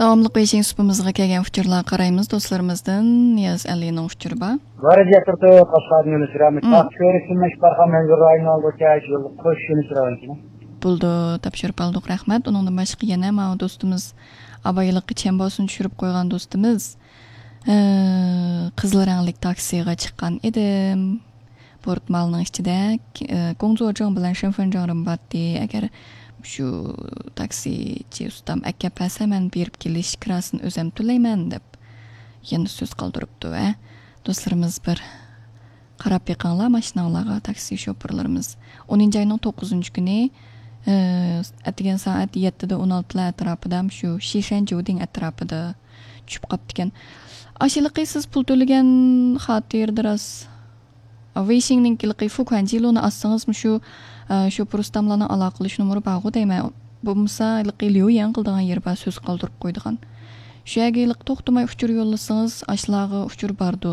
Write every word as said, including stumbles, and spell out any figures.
داۋاملىق بېيجىڭ سۇپىمىزغا كەلگەن ئۇچۇرلارغا قارايمىز. دوستلىرىمىزدىن نىياز ئەلىنىڭ ئۇچۇرى بار. بارىز ياتىرىدۇ، قاشقاردىن يۈنۈس رامىز. مم. تاق كۆرۈكتىن مەشىق بارغان مەنزۇر رايونى ئالغۇچە يوللۇق قوش يۈنۈس رايونى. بولدى، تاپشۇرۇپ ئالدۇق، رەھمەت. ئۇنىڭدىن باشقا يەنە ماۋۇ دوستىمىز، ئابايلىققا چەمباسىنى چۈشۈرۈپ قويغان دوستىمىز، ئە، قىزىل رەڭلىك تاكسىغا چىققان ئىدىم. بورتمالنىڭ ئىچىدە، ئە، گوڭزۇجۇڭ بىلەن شېنفېنجۇڭ رىم باتتى. ئەگەر شۇ تاكسىچى ئۇستام ئەكەپ بەرسە، مەن بېرىپ كېلىش كىراسىنى ئۆزۈم تۆلەيمەن، دەپ يەنە سۆز قالدۇرۇپتۇ. ۋە دوستلىرىمىز، بىر قاراپ بېقىڭلار ماشىناڭلارغا، تاكسى شوپۇرلىرىمىز. ئونىنچى ئاينىڭ توققۇزىنچى كۈنى، ئە، ئەتىگەن سائەت يەتتىدە ئون ئالتىلار ئەتراپىدا، شۇ شىشەن جۇدىڭ ئەتراپىدا چۈشۈپ قاپتىكەن. ئاشۇلىقى سىز پۇل تۆلىگەن خاتىرىدە راست، ۋېيشىڭنىڭكىلىقى فۇكۇەنجىلۇنى ئاچسىڭىزمۇ شۇ، ئە، شوپۇر ئۇستاملارنىڭ ئالاقىلىشىش نومۇرى بارغۇ دەيمەن. بولمىسا ھېلىقى ليۇيەن قىلىدىغان يېرى بار، سۆز قالدۇرۇپ قويىدىغان. شۇ يەرگە ھېلىقى توختىماي ئۇچۇر يوللىسىڭىز، ئاشۇلارغا ئۇچۇر باردۇ.